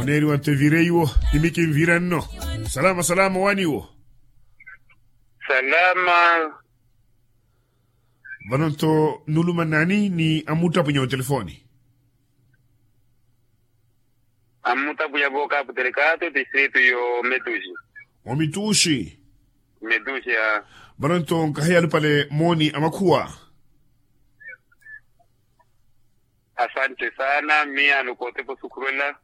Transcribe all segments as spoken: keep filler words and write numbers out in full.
Oneeriwa nto evire iwo. Imi kinvira nno. Salama salama waniwo. Salama. Vano nto nuluma nani ni amuttapunya otelefoni? Amuttapunya vookaputelekaato distritu yo metuxi. Omituxi. Metuxi a. Vano nto nkahi yalupale mooni amakhuwa. Asante sana miya nukootepa osukhurela.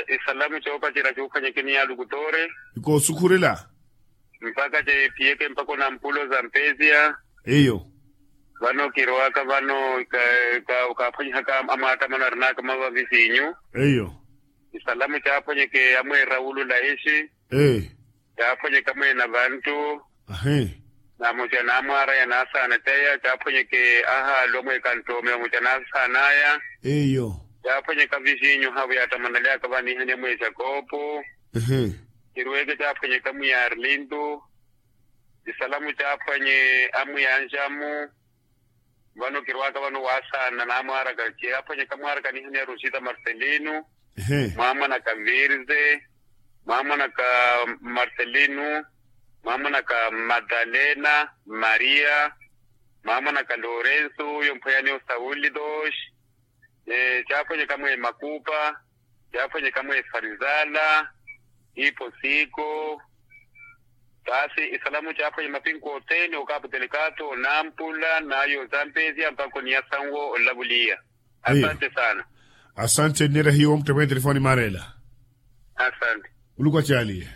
Isalamu coopacerya cuuphwanyeke ni yaalukutoore. Ikoosukhurela. Mpakha cephiyeke mpakha onampulo za mpesiya. Eyo. Vano kirowaka vano kaaphwanyihaka amwaattamano arinaka mavavisinyu. Eyo. Isalamu caaphwanyeke amweera wulula ixi. Caaphwanyeka mweena vantu. Ahi. Namuca naamwaara yanaasaana caya caaphwanyeke ahaalu amweeka nttoomi vamuca naasaanaya. Eyo. Caaphwanyeka visinyu haavu yaattamanaleyaka vanihani amweexa koopu. Ehe. Kirweke caaphwanyeka mwiya arlintu. Isalamu caaphwanye amwiya anxamu. Vano kirwaka vano waasaana naamwaaraka caaphwanyeka mwaaraka nihani ya rosita marcelino. Mwaamwanaka virze. Mwaamwanaka marcelino. Mwaamwanaka madalena maria. Mwaamwanaka lorenso uyo mphweyani osauli dos. Caaphwanyeka mwe makupa. Caaphwanyeka mwe farizala. Ipo siko. Taasi isalamu caaphwanye mapinko othene okaputelekaato nampula nayo zampesia mpakha oniya sanwo olavuliya. Asante sana. Asante nneera hiyo muttephwene telefoni maarela. Asante. Muluku acaaliye.